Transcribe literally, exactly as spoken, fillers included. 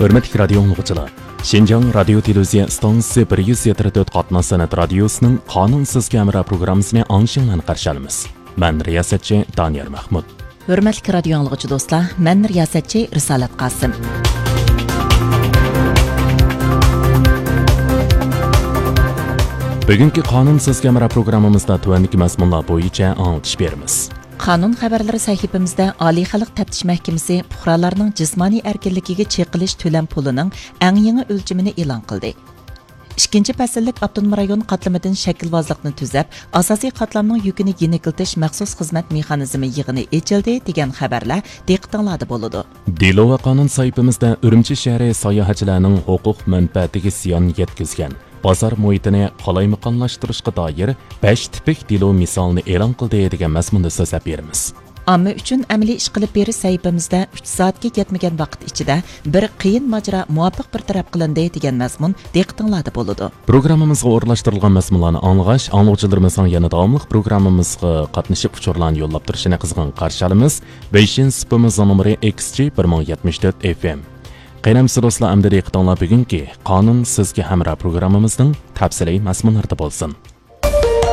ھۆرمەتلىك رادىيو ئاڭلىغۇچىلار، شىنجاڭ رادىيو تېلېۋىزىيە ئىستانسىسى بىر يۈز يەتتە تۆت قاتناش سەنئەت رادىيوسىنىڭ قانۇن سىزگە ھەمراھ پروگراممىسىنى ئاڭلىشىڭلارنى قارشى ئالىمىز. مەن رىياسەتچى دانىيار مەخمۇت. ھۆرمەتلىك رادىيو ئاڭلىغۇچى دوستلار، مەن رىياسەتچى رىسالەت قاسىم. بۈگۈنكى قانۇن سىزگە ھەمراھ پروگراممىمىزدا تۆۋەندىكى مەزمۇنلار بويىچە ئاڭلىتىش بېرىمىز. قانۇن خەۋەرلىرى سەھىپىمىزدە ئالىي خەلق تەپتىش مەھكىمىسى پۇقرالارنىڭ جىسمانىي ئەركىنلىكىگە چېقىلىش تۆلەم پۇلىنىڭ ئەڭ يېڭى ئۆلچىمىنى ئېلان قىلدى. ئىككىنچى پەسىللىك ئاپتونوم رايون قاتلىمىدىن شەكىلۋازلىقنى تۈزەپ، ئاساسىي قاتلامنىڭ يۈكىنى يېنىكلىتىش مەخسۇس خىزمەت مېخانىزمى يىغىنى ئېچىلدى دېگەن خەۋەرلەر دىققىتىڭلاردا بولىدۇ. دېلو ۋە قانۇن سەھىپىمىزدە ئۈرۈمچى شەھىرى ساياھەتچىلەرنىڭ ھوقۇق مەنپەئەتىگە زىيان يەتكۈزگەن بازار مۇھىتىنى قالايمىقانلاشتۇرۇشقا دائىر بەش تىپىك دېلو مىسالىنى ئېلان قىلدى دېگەن مەزمۇندا سۆزلەپ بېرىمىز. ئامما ئۈچۈن ئەمەلىي ئىش قىلىپ بېرىش سەھىپىمىزدە ئۈچ سائەتكە يەتمىگەن ۋاقىت ئىچىدە بىر قىيىن ماجىرا مۇۋاپىق بىر تەرەپ قىلىندى دېگەن مەزمۇن دىققىتىڭلاردا بولىدۇ. پروگراممىمىزغا ئورۇنلاشتۇرۇلغان مەزمۇنلارنى ئاڭلىغاچ، ئاڭلىغۇچىلىرىمىزنىڭ يەنە داۋاملىق پروگراممىمىزغا قاتنىشىپ ئۇچۇرلارنى يوللاپ تۇرۇشىنى قىزغىن قارشى ئالىمىز. ۋېيشىن سۇپىمىزنىڭ نومۇرى ئېكس جى بىر مىڭ يەتمىش تۆت ئېف ئېم. قېنى ئەمىسە دوستلار، ئەمدى دىققىتىڭلار بۈگۈنكى قانۇن سىزگە ھەمراھ پروگراممىمىزنىڭ تەپسىلىي مەزمۇنلىرىدا بولسۇن.